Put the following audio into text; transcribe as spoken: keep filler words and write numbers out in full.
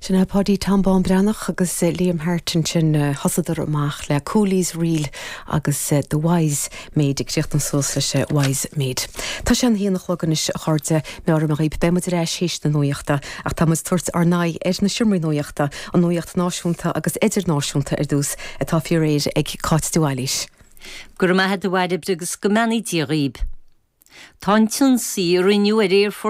Sin é Páidí Tom Bán Breathnach agus eh, Liam Hart ansin eh, thosaíodar amach le Cooley's Reel agus eh, The Wise Maid ag críochnú suas leis Wise Maid. Tá sé an haon a chlog anois a chairde meabhraím daoibh beimid ar ais théis na nuachta ach tá muid ag tabhairt ár n-aghaidh ar na seomraí nuachta an nuacht náisiúnta agus idirnáisiúnta ar dtús atá faoi réir ag Cáit de Bhailís. Gur maith a bhairb agus go mbeannaí Dia dhaoibh. Tá an t-ionsaí a rinneadh ar aerfort